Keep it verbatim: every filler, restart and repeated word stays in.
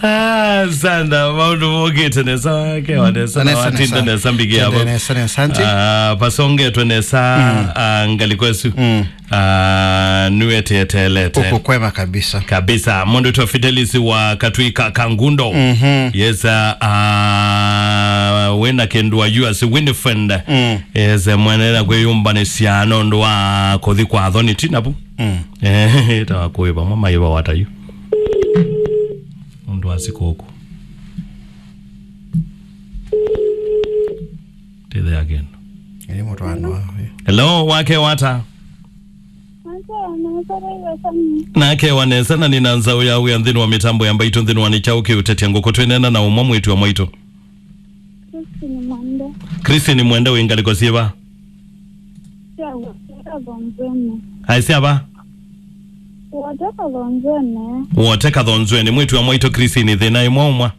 Ah, sana, maũndũ mokĩte nesa, kewa nesa, na Nesa, watinda nesa. nesa mbigi Tende yavo. nesa, nesa, auntie. Ah, pasongetwe nesa, ah, ngaliko ĩsu. Mm. Ah, nĩweteeteelete. Uko kwema kabisa. Kabisa. Mũndũ wĩtwa Fidelis wa Katwika Kangundo. Mhm. Yes, ah, ah, wĩna kĩndũ wa U S Winifred. Mm. Yes, mwene na kwĩyũmbanĩsya nũndũ wa kũthi kwa thoni tinapu. Mm. Eh, ta wa kũĩ vamwe maĩ vawata yu. Ũndũ wa sikũkũ. Tĩthea kĩndũ. Ĩĩ, mũtwaano wa, ĩĩ. Hello, wake wata? Nake wa nesa na nĩna nzaũ ya wĩa nthĩnĩ wa mĩtambo ya mbaitũ nthĩnĩ wa nĩ kyaũ kĩũtetya ngũkũ twĩneena na ũmwe mwĩĩtu wa mwaitũ. Christine Mwende. Christine Mwende wĩ ngalĩko syĩva? Sya Woteka Thonzweni. Aĩ syava? Woteka Thonzweni. Wote Kathonzweni, mwĩĩtu wa mwaitũ Christine, thĩna ĩmwe ũmwa.